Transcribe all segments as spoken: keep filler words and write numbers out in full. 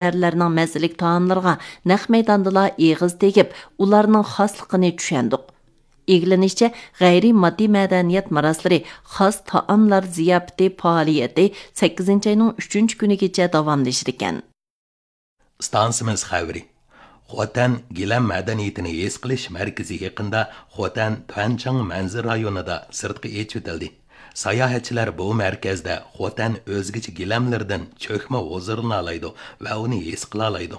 شەھەرلەرنىڭ مەززىلىك تائاملىرىغا نەق مەيداندىلا ئېغىز تېگىپ، ئۇلارنىڭ خاسلىقىنى چۈشەندۇق. ئىگىلىنىشىچە، غەيرىي ماددىي مەدەنىيەت مىراسلىرى خاس تائاملار زىياپىتى پائالىيىتى سەككىزىنچى ئاينىڭ ئۈچىنچى كۈنىگىچە داۋاملىشىدىكەن. ئىستانسىمىز خەۋىرى. خوتەن گىلەم مەدەنىيىتىنى ھېس قىلىش مەركىزى يېقىندا خوتەن تۈەنچاڭ مەنزىرە رايونىدا سىرتقا ئېچىۋېتىلدى. ساياھەتچىلەر بۇ مەركەزدە خوتەن ئۆزگىچە گىلەملىرىدىن چۆكمە ھۇزۇرلىنالايدۇ ۋە ئۇنى ھېس قىلالايدۇ.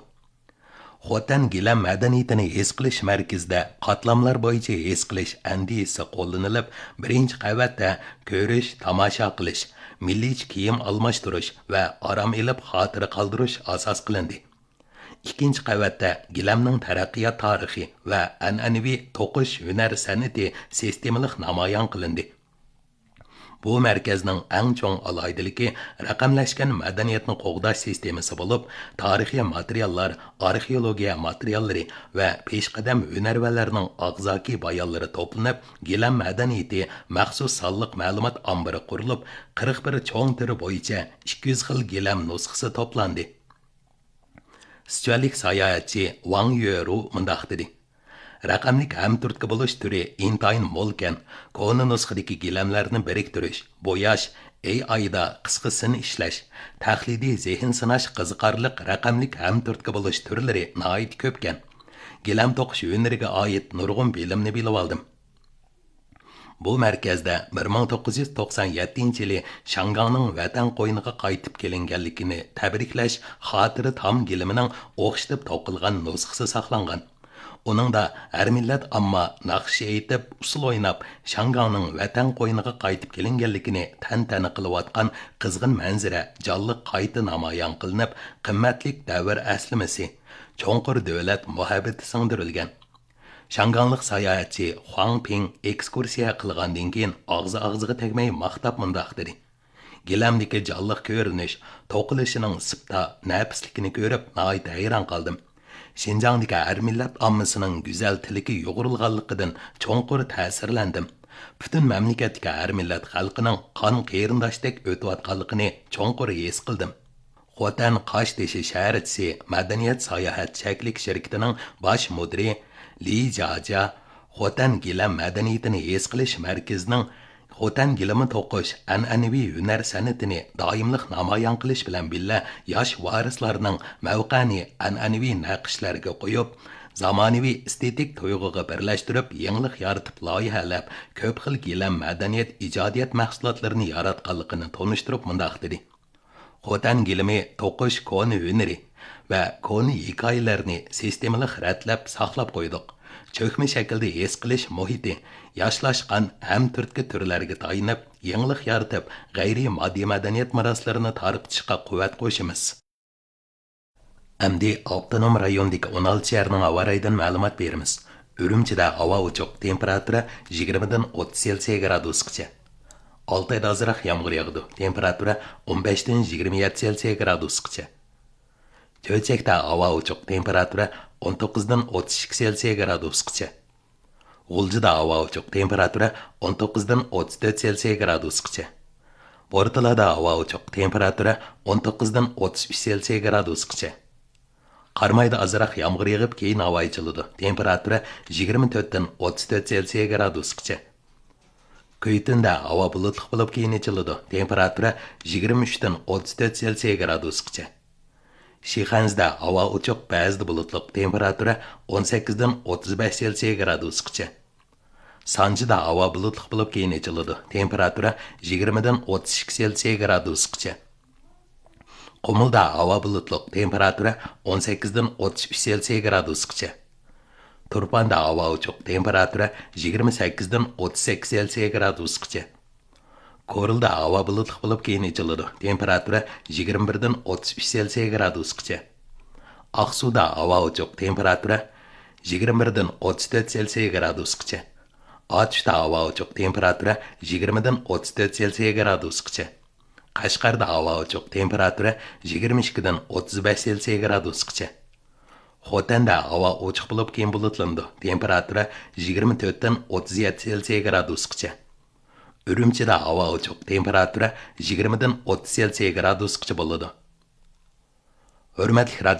خوتەن گىلەم مەدەنىيىتىنى ھېس قىلىش مەركىزىدە قاتلاملار بويىچە ھېس قىلىش ئەندىزىسى قوللىنىلىپ، بىرىنچى قەۋەتتە كۆرۈش، تاماشا قىلىش، مىللىيچە كىيىم ئالماشتۇرۇش ۋە ئارام ئېلىپ خاتىرە قالدۇرۇش ئاساس قىلىندى. ئىككىنچى قەۋەتتە گىلەمنىڭ تەرەققىيات تارىخى ۋە ئەنئەنىۋى توقۇش ھۈنەر سەنئىتى سىستېمىلىق نامايان قىلىندى. بۇ مەركەزنىڭ ئەڭ چوڭ ئالاھىدىلىكى رەقەملەشكەن مەدەنىيەتنى قوغداش سىستېمىسى بولۇپ، تارىخىي ماتېرىياللار، ئارخېئولوگىيە ماتېرىياللىرى ۋە پېشقەدەم ھۈنەرۋەنلەرنىڭ ئاغزاكى بايانلىرى توپلىنىپ، گىلەم مەدەنىيىتى مەخسۇس سانلىق مەلۇمات ئامبىرى قۇرۇلۇپ، قىرىق بىر چوڭ تۈرى بويىچە ئىككى يۈز خىل گىلەم نۇسخىسى توپلاندى. سىچۈەنلىك ساياھەتچى ۋاڭ يۆرۇ مۇنداق دېدى: رەقەملىك ھەمتۈرتكە بولۇش تۈرى ئىنتايىن مولكەن. كونا نۇسخىدىكى گىلەملەرنى بىرىكتۈرۈش، بوياش، ئېي ئايدا قىسقا سىن ئىشلەش، تەقلىدىي زېھىن سىناش قىزىقارلىق رەقەملىك ھەمتۈرتكە بولۇش تۈرلىرى ناھايىتى كۆپكەن. گىلەم توقۇش ھۈنىرىگە ئائىت نۇرغۇن بىلىمنى بىلىۋالدىم. بۇ مەركەزدە بىر مىڭ توققۇز يۈز توقسان يەتتىنچى يىلى شياڭگاڭنىڭ ۋەتەن قوينىغا قايتىپ كېلىنگەنلىكىنى تەبرىكلەش خاتىرە تام گىلىمىنىڭ ئوخشىتىپ توقۇلغان نۇسخىسى ساقلانغان. ئۇنىڭدا ھەر مىللەت ئامما ناخشا ئېيتىپ، ئۇسسۇل ئويناپ، شياڭگاڭنىڭ ۋەتەن قوينىغا قايتىپ كېلىنگەنلىكىنى تەنتەنە قىلىۋاتقان قىزغىن مەنزىرە جانلىق قايتا نامايان قىلىنىپ، قىممەتلىك دەۋر ئەسلىمىسى، چوڭقۇر دۆلەت مۇھەببىتى سىڭدۈرۈلگەن. شياڭگاڭلىق ساياھەتچى خۇاڭ پىڭ ئېكسكۇرسىيە قىلغاندىن كېيىن ئاغزى ئاغزىغا تەگمەي ماختاپ مۇنداق دېدى: گىلەمدىكى جانلىق كۆرۈنۈش، توقۇلۇشىنىڭ سىپتا، نەپىسلىكىنى كۆرۈپ ناھايىتى ھەيران قالدىم. شىنجاڭدىكى ھەر مىللەت ئاممىسىنىڭ گۈزەل تىلىكى يۇغۇرۇلغانلىقىدىن چوڭقۇر تەسىرلەندىم. پۈتۈن مەملىكەتتىكى ھەر مىللەت خەلقىنىڭ قان قېرىنداشتەك ئۆتۈۋاتقانلىقىنى چوڭقۇر ھېس قىلدىم. خوتەن قاشتېشى شەھەرچىسى مەدەنىيەت ساياھەت چەكلىك شىركىتىنىڭ باش مۇدىرى لى جاجيا خوتەن گىلەم مەدەنىيىتىنى ھېس قىلىش مەركىزىنىڭ خوتەن گىلىمى توقۇش ئەنئەنىۋى ھۈنەر سەنئىتىنى دائىملىق نامايان قىلىش بىلەن بىللە، ياش ۋارىسلارنىڭ مەۋقەنى ئەنئەنىۋى نەقىشلەرگە قويۇپ، زامانىۋى ئېستېتىك تۇيغۇغا بىرلەشتۈرۈپ، يېڭىلىق يارىتىپ لايىھەلەپ، كۆپ خىل گىلەم مەدەنىيەت ئىجادىيەت مەھسۇلاتلىرىنى ياراتقانلىقىنى تونۇشتۇرۇپ مۇنداق دېدى: خوتەن گىلىمى توقۇش كونا ھۈنىرى ۋە كونا ھېكايىلەرنى سىستېمىلىق رەتلەپ ساقلاپ قويدۇق. چۆكمە شەكىلدە ھېس قىلىش مۇھىتى، ياشلاشقان ھەمتۈرتكە تۈرلەرگە تايىنىپ، يېڭىلىق يارىتىپ، غەيرىي ماددىي مەدەنىيەت مىراسلىرىنى تارقىتىشقا قۇۋۋەت قوشىمىز. ئەمدى ئاپتونوم رايوندىكى ئون ئالتە شەھەرنىڭ ھاۋا رايىدىن مەلۇمات بېرىمىز. ئۈرۈمچىدە ھاۋا ئوچۇق، تېمپېراتۇرا يىگىرمىدىن ئوتتۇز سېلسىيە گرادۇسقىچە. ئالتايدا ئازراق يامغۇر ياغىدۇ، تېمپېراتۇرا ئون بەشتىن يىگىرمە يەتتە سېلسىيە گرادۇسقىچە. چۆچەكتە ھاۋا ئوچۇق، تېمپېراتۇرا ئون توققۇزدىن ئوتتۇز ئىككى سېلسىيە گرادۇسقىچە. غۇلجىدا ھاۋا ئوچۇق، تېمپېراتۇرا ئون توققۇزدىن ئوتتۇز تۆت سېلسىيە گرادۇسقىچە. بورتالادا ھاۋا ئوچۇق، تېمپېراتۇرا ئون توققۇزدىن ئوتتۇز ئۈچ سېلسىيە گرادۇسقىچە. قارامايدا ئازراق يامغۇر يېغىپ، كېيىن ھاۋا ئېچىلىدۇ، تېمپېراتۇرا يىگىرمە تۆتتىن ئوتتۇز تۆت سېلسىيە گرادۇسقىچە. كۈيتۈندە ھاۋا بۇلۇتلۇق بولۇپ، كېيىن ئېچىلىدۇ، تېمپېراتۇرا يىگىرمە ئۈچتىن ئوتتۇز تۆت سېلسىيە گرادۇسقىچە. شىخەنزىدە ھاۋا ئوچۇق، بەزىدە بۇلۇتلۇق، تېمپېراتۇرا ئون سەككىزدىن ئوتتۇز بەش سېلسىيە گرادۇسقىچە. سانجىدا ھاۋا بۇلۇتلۇق بولۇپ، كېيىن ئېچىلىدۇ، تېمپېراتۇرا يىگىرمىدىن ئوتتۇز ئىككى سېلسىيە گرادۇسقىچە. قۇمۇلدا ھاۋا بۇلۇتلۇق، تېمپېراتۇرا ئون سەككىزدىن ئوتتۇز ئۈچ سېلسىيە گرادۇسقىچە. تۇرپاندا ھاۋا ئوچۇق، تېمپېراتۇرا يىگىرمە سەككىزدىن ئوتتۇز سەككىز سېلسىيە گرادۇسقىچە. كورلىدا ھاۋا بۇلۇتلۇق بولۇپ، كېيىن ئېچىلىدۇ، تېمپېراتۇرا يىگىرمە بىردىن ئوتتۇز ئۈچ سېلسىيە گرادۇسقىچە. ئاقسۇدا ھاۋا ئوچۇق، تېمپېراتۇرا يىگىرمە بىردىن ئوتتۇز تۆت سېلسىيە گرادۇسقىچە. ئاتۇشتا ھاۋا ئوچۇق، تېمپېراتۇرا يىگىرمىدىن ئوتتۇز تۆت سېلسىيە گرادۇسقىچە. قەشقەردە ھاۋا ئوچۇق، تېمپېراتۇرا يىگىرمە ئىككىدىن ئوتتۇز بەش سېلسىيە گرادۇسقىچە. خوتەندە ھاۋا ئوچۇق بولۇپ، كېيىن بۇلۇتلىنىدۇ، تېمپېراتۇرا يىگىرمە تۆتتىن ئوتتۇز يەتتە سېلسىيە گرادۇسقىچە. ئۈرۈمچىدە ھاۋا ئوچۇق، تېمپېراتۇرا يىگىرمىدىن ئوتتۇز سېلسىيە گرادۇسقىچە بولىدۇ. ھۆرمەتلىك رادىئو